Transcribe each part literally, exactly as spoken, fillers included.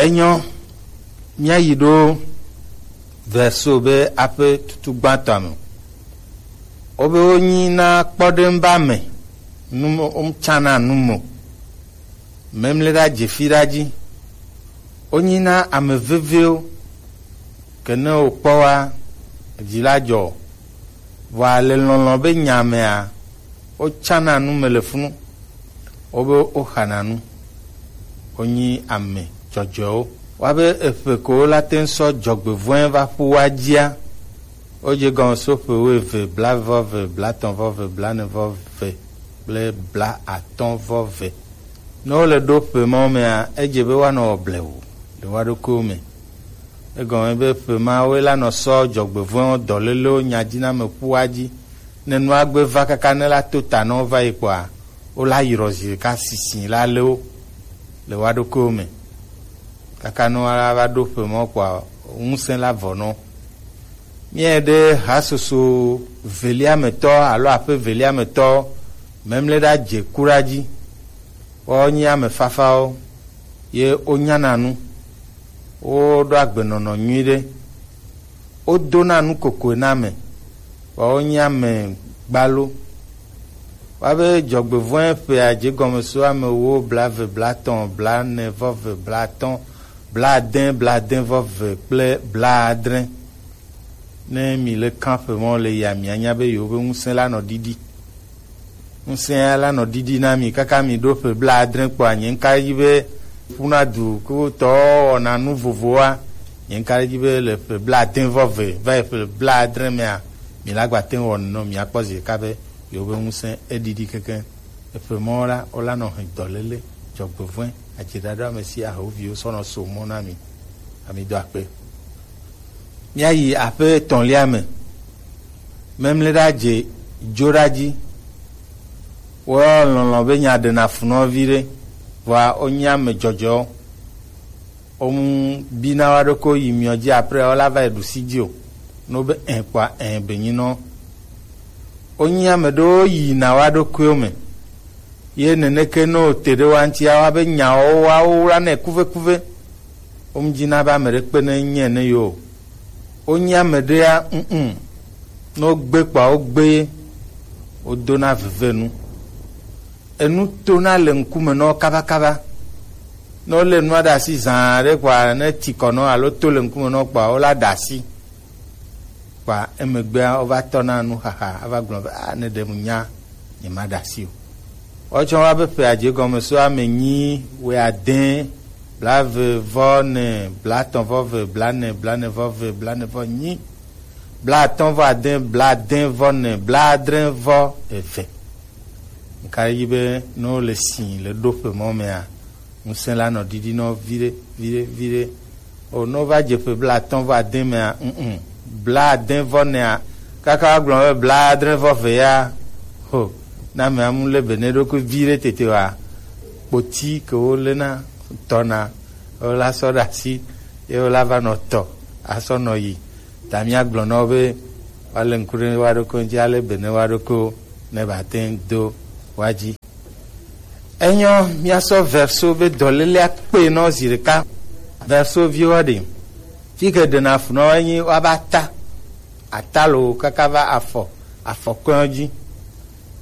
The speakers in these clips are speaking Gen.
Enyo, míayi ɖo verso be aƒe tutu gbãtɔa me. Wobe wonyi na kpɔɖeŋu be ame, nu mo-, wotsana nu mo. Memle ɖa dzefi ɖa dzi. Wonyi na ame vevewo, ke ne wokpɔ wa, dzi la dzɔ. Vɔa le lɔlɔ̃ be nya mea, wotsana nu me le funu. Wobe woxana nu. Wonyi ame dzɔdzɔewo. Woabe eƒe ko wola te ŋu sɔ dzɔgbevɔ̃e va ƒu wa dzia, wodze gɔme so ƒe wuieve, blaeve vɔ eve, blaetɔ̃ vɔ eve, blaene vɔ eve kple blaatɔ̃ vɔ eve. Ne wole ɖo ƒe mawo mea, edze be woanɔ wɔ blewu le woa ɖokuiwo me. Egɔme be ƒe mawoe la nɔ sɔ dzɔgbevɔ̃ewo dɔlélewo nyadziname ƒua dzi. Ne nua gbe va kaka ne la to ta na wo va yi kpɔa, wola yrɔ zi ɖeka sisi la lé wo le woa ɖokuiwo me. Kaka ne woala va ɖo ƒe mawo kpɔa, ŋusẽ la vɔ na wo. Míayi ɖe hasoso velia me tɔ alo aƒe velia me tɔ, memle ɖa dze ku ɖa dzi. Woawo nyi ame fafawo, ye wonyana nu, woɖo agbenɔnɔ nyui ɖe, wodona nu kokoe na ame, vɔa wonyi ame gbalo. Woabe dzɔgbevɔ̃e ƒea dze gɔme so ame ewo, blaeve, blaetɔ̃, blaene vɔ eve, blaatɔ̃, blaade, blaade vɔ eve kple blaadre. Ne mi le kan ƒe mɔ le ya, mianya be yewo be ŋusẽ la nɔ ɖiɖi. Ŋusẽa la nɔ ɖiɖi na mi kaka mi ɖo ƒe blaadre kpɔa, nye ŋka dzi be ƒuna du ko tɔ wɔna nu vovowa. Nye ŋka dzi be le ƒe blaade vɔ eve va yi ƒe blaadre mea, mi la gba te ŋu wɔ nenɔ, mi akpɔ zi ɖeka be yewo be ŋusẽ eɖiɖi kekeŋ. Eƒe mɔ la, wola nɔ hɛn dɔléle, dzɔgbevɔ̃e, adziɖaɖa ame si ahoviwo sɔnɔ so mɔ na mi. Ami do akpe. Míayi aƒe etɔ̃lia me. Memle ɖa dze dzo ɖa dzi. Wo lɔlɔ̃ be nya ɖena funɔ vi ɖe, vɔa wonye ame dzɔdzɔwo. Womu bina wa ɖokui yi miɔ dzi, après wola va yi ɖusi dzi o. Ne wobe ẽ kpɔa, ẽ be nyinɔ. Wonye ame ɖewo yina wa ɖokuiwo me. Ye neneke ne wote ɖe wa ŋutia, woabe nyawo woawo wlanɛ kuvekuve. Womdina be ame ɖe kpe ne nye ne yo o. Wonye ame ɖea, mm, ne wogbe kpɔa, wogbe ye. Wodona veve nu. Enu tona le ŋkume na wo kabakaba. Ne wolé nua ɖe asi zã ɖe kpɔa, ne ti kɔ na wo alo to le ŋkume na wo kpɔa, wola ɖe asi. Kpa emegbea wova tɔna nuxaxa ava gblɔ be, "Ah, ne ɖe mu nya, nyemaɖe asi o." Woatsɔ woabe ƒe adze gɔme so ame nyi, wuiade, blaeve vɔ ne, blaetɔ̃ vɔ ve, blaene, blaene vɔ ve, blaene vɔ nyi, blaatɔ̃ vɔ ade, blaade vɔ ne, blaadre vɔ eve. Nka yi be ne wole si le ɖoƒe mɔ mea, ŋusẽ la nɔ ɖiɖi nɔ viɖe, viɖe, viɖe. O, ne wova dze ƒe blaatɔ̃ vɔ ade mea, mm, blaade vɔ nea, kaka woagblɔ be blaadre vɔ ve ya, ho, ne amea mu lé be ne ɖokui viɖe tete wa, kpoti ke wolena tɔna, wola sɔ ɖe asi, ye wola va nɔ tɔ, asɔ nɔ yi. Ta míagblɔ na wo be woalé ŋku ɖe woa ɖokui ŋuti, alé be ne woa ɖokuiwo ne ba te ŋu do woa dzi. Enyɔ, míasɔ verso be dɔlélea kpe nɔ zi ɖeka. Verso viwo ɖe. Fi ke ɖena fu nɔ enyi woaba ta. Ata lo kaka va afɔ, afɔkɔe dzi.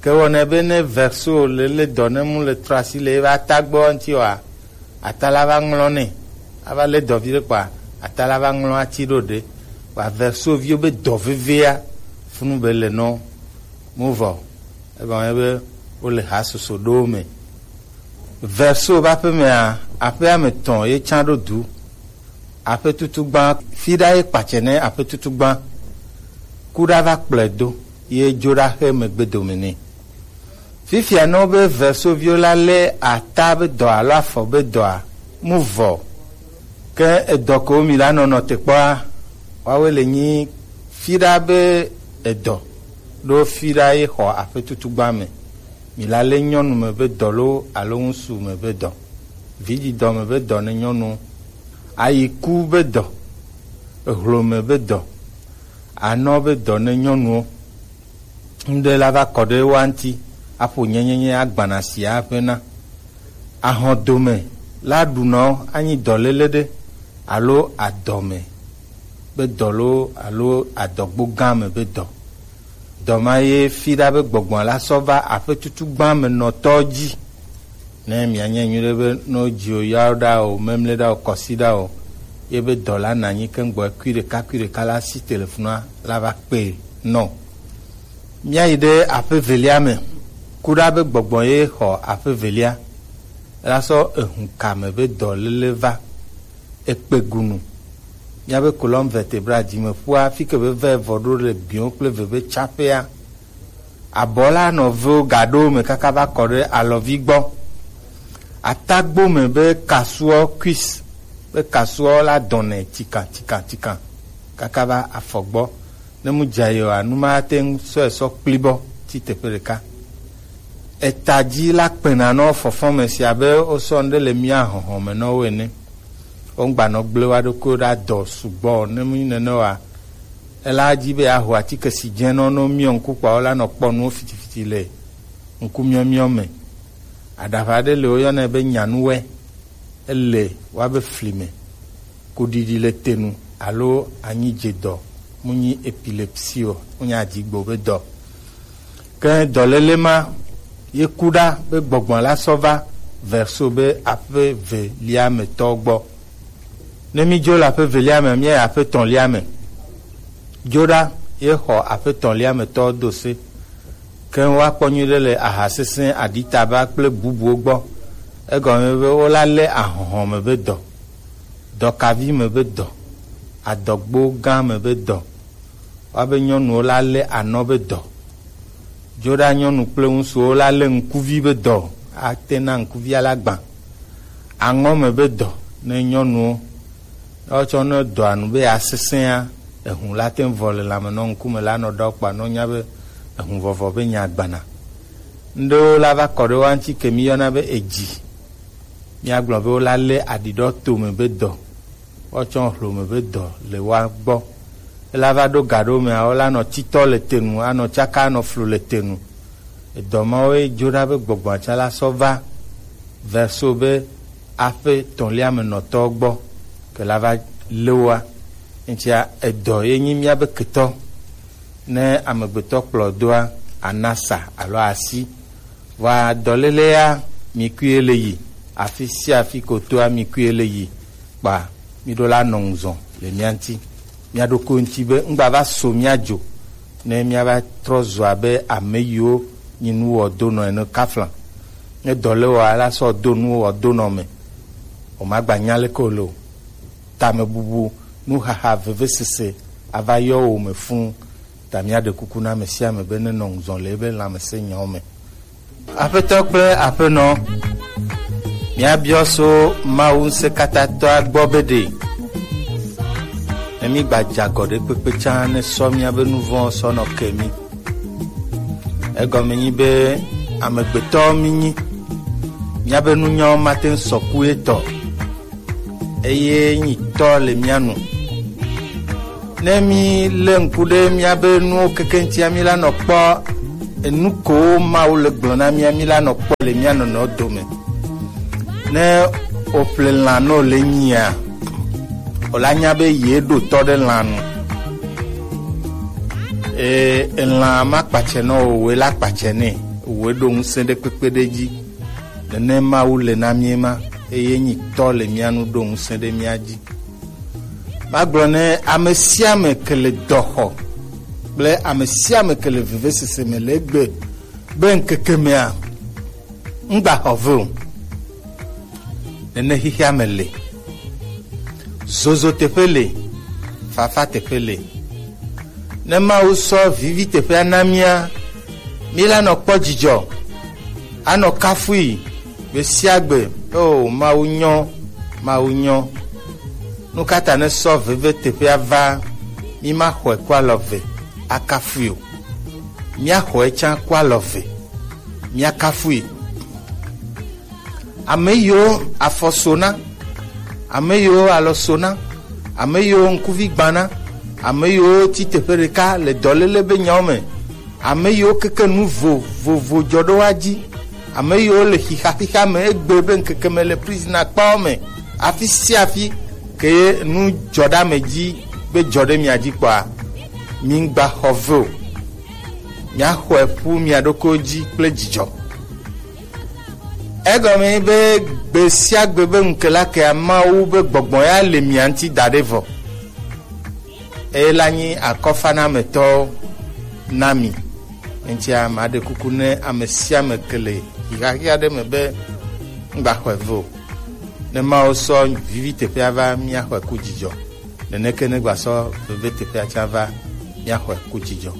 Ke wɔnɛ be ne verso le, le dɔ ne mu le trɔ asi le ebe ata gbɔ ŋuti oa, ata la va ŋlɔ nɛ. Ava lé dɔ vi ɖe kpɔa, ata la va ŋlɔ ati ɖo ɖe. Kpa verso viwo be dɔ vevea funu be le nɔ mu vɔ. Egɔme be wole ha soso ɖo me. Verso be aƒe mea, aƒea me tɔn ye tsã ɖo du. Aƒe tutu gbã, fi ɖa ye kpatsɛ ne aƒe tutu gbã. Ku ɖa va kplɔe do, ye dzo ɖa xe megbe dome nɛ. Fifia ne wobe verso viwo la lé ata be dɔ alo afɔ be dɔa, mu vɔ. Ke edɔ ko mi la nɔnɔ te kpɔa, woawoe le nyi fi ɖa be edɔ, ɖo fi ɖa ye xɔ aƒe tutu gbã me. Mi la lé nyɔnu me be dɔ lo alo ŋusu me be dɔ. Vidzidɔ me be dɔ ne nyɔnu. Ayiku be dɔ. Ehlo me be dɔ. Anɔ be dɔ ne nyɔnuwo. Ŋɖe la va kɔ ɖe woa ŋuti, aƒo nyenyenye agbana sia aƒe na. Ahɔdome la ɖunɔ anyi dɔléle ɖe alo adɔme be dɔ loo alo adɔgbo gã me be dɔ. Dɔ ma ye fi ɖa be gbɔgbɔ la sɔ va aƒe tutu gbã me nɔtɔ dzi. Ne mianye nyuie ɖe be ne wodzi o, yawo ɖa o, memle ɖa o, kɔsi ɖa o, ye be dɔ la na anyi keŋ gbɔ kui ɖeka kui ɖeka la si telefonua la va kpe nɔ. Míayi ɖe aƒe velia me, ku ɖa be gbɔgbɔ ye xɔ aƒe velia, la sɔ ehun kame be dɔléle va. Ekpe gunu. Míabe colonne vertébrale, dzimeƒua, fi ke be vɛ vɔ ɖo le biwo kple veve tsaƒea. Abɔ la nɔ vewo gaɖo me kaka va kɔ ɖe alɔvi gbɔ. Atagbo me be kasuɔ, cuisse, be kasuɔ la dɔnɛ tikan tikan tikan kaka va afɔ gbɔ. Ne mu dza yi oa, nu ma ate ŋu sɔe sɔ kpli bɔ tsi teƒe ɖeka. Eta dzi la kpena nɔ fɔfɔ me si abe wosɔ nu ɖe le mía hɔhɔ me nɔ wo ene. Wogba nɔ gblẽ wa ɖokuiwo ɖe adɔ sugbɔ o. Ne mu nyi nene oa, ela dzi be yeaho atike si dze nɔ, ne womiɔ ŋku kpɔa, wola nɔ kpɔ nuwo fitifiti le ŋkumiɔmiɔ me. Aɖaʋa ɖe le woyɔnɛ be nyanuwɛ, ele woabe fli me. Kuɖiɖi le te nu alo anyi dze dɔ, mu nyi epilepsie o, mu nyi adigbo be dɔ. Ke dɔléle ma ye ku ɖa be gbɔgbɔ la sɔ va verso be aƒe velia me tɔ gbɔ. Ne mi dzo le aƒe velia me, mi yi aƒe tɔ̃lia me. Dzo ɖa ye xɔ aƒe tɔ̃lia me tɔ do se. Ke woakpɔ nyuie ɖe le aha sesẽ, aɖitaba kple bubuwo gbɔ. Egɔme be wola lé ahɔhɔ me be dɔ, dɔkavi me be dɔ, adɔgbo gã me be dɔ. Woabe nyɔnuwo la lé anɔ be dɔ. Dzo ɖa nyɔnu kple ŋutsuwo la lé ŋkuvi be dɔ. Ate na ŋkuvia la gbã. Aŋɔ me be dɔ ne nyɔnuwo. Ne wotsɔ ne dɔa nu be yeasesẽa, ehun la te ŋu vɔ le lãme nɔ ŋkume la nɔ ɖɔ kpa nɔ nya be ehun vɔvɔ be nya gbana. Ŋɖewo la va kɔ ɖe woa ŋuti ke mi yɔna be edzi. Míagblɔ be wola lé aɖiɖɔ tome be dɔ, woatsɔ hlome be dɔ le woa gbɔ. Ela va ɖo ga ɖewo mea, wola nɔ titɔ le te nu, anɔ tsaka, anɔ flu le te nu. Edɔ mawoe dzo ɖa be gbɔgbɔa tsã la sɔ va verso be aƒe tɔ̃lia me nɔtɔwo gbɔ ke la va lé woa. Ŋutia edɔ ye nyi míabe ketɔ. Ne amegbetɔ kplɔ doa, anasa alo asi. Vɔa dɔlélea, mi kui ele yi. Afi sia afi ko toa, mi kui ele yi. Kpa mi ɖo la nɔ ŋuzɔ le mía ŋuti. Mía ɖokui ŋuti be ŋgba va so mía dzo, ne mía va trɔ zu abe ame yiwo nyi nuwɔdonɔ ene kafla. Ne dɔ le wɔ, ala sɔ do nuwɔdonɔ me. O ma gba nya leke o le o. Tamebubu, nuxaxa, vevesese ava yɔ wo me fũ. Ta míaɖe kuku na ame sia ame be nenɔ ŋuzɔ le ebe lãmesẽnyawo me. Aƒetɔ kple aƒenɔ, míabiɔ so Mawu Ŋusẽkatãtɔa gbɔ be ɖe ne mígba dze agɔ ɖe kpekpe tsã ne sɔ míabe nu vɔ̃wo sɔ nɔ ke mí. Egɔme nyi be amegbetɔwo mínyi, míabe nunyawo mate ŋu sɔ ku etɔ, eye nyi tɔ le mía nu. Ne mí lé ŋku ɖe míabe nuwo keke ŋutia, mí la nɔ kpɔ enu kowo Mawu le gblɔ na mía, mí la nɔ kpɔ le mía nɔnɔewo dome. Ne woƒle lã nɔ le nyia, wòla nya be ye ɖo tɔ ɖe lã nu. Ee, elã ma kpatsɛ nɔ o, wòe la kpatsɛ nɛ, wòe ɖo ŋusẽ ɖe kpekpe ɖe dzi. Nene Mawu le na mí ema, eye nyi tɔ le mía nu ɖo ŋusẽ ɖe mía dzi. Magblɔ ne ame sia ame ke le dɔxɔ kple ame sia ame ke le vevesese me le egbe be ŋkeke mea, ŋgba xɔ ve o. Nene xexea me le. Zozo teƒe le, fafa teƒe le. Ne Mawu sɔ vivi teƒea na mía, mí la nɔ kpɔ dzidzɔ, anɔ kafui gbe sia gbe. O Mawu nyɔ, Mawu nyɔ. Nu ka ta ne sɔ veve teƒea va, mí ma xɔe kɔ alɔ ve akafui o? Mía xɔe tsã kɔ alɔ ve, mía kafui. Ame yiwo afɔ so na, ame yiwo alɔ so na, ame yiwo ŋkuvi gbã na, ame yiwo tsi teƒe ɖeka le dɔléle be nyawo me, ame yiwo keke nu vovovo dzɔ ɖo woa dzi, Ame yiwo le xixa xixa me egbe be ŋkeke me le prison akpawo me afi sia afi ke nu dzɔ ɖe ame dzi be dzɔ ɖe mia dzi kpɔa, mi ŋgba xɔ ve o. Miaxɔe ƒu mia ɖokuiwo dzi kple dzidzɔ. Egɔme be gbe sia gbe be ŋke la kea Mawu be gbɔgbɔ ya le mia ŋuti da ɖe vɔ. Eye la nyi akɔfanametɔwo na mi. Eŋutia maɖe kuku ne ame sia ame ke le xixa xixa ɖe me be ŋgba xɔe ve o. Ne Mawu sɔ vivi teƒea va, míaxɔe ku dzidzɔ. Neneke ne gba sɔ veve teƒea tsã va, míaxɔe ku dzidzɔ.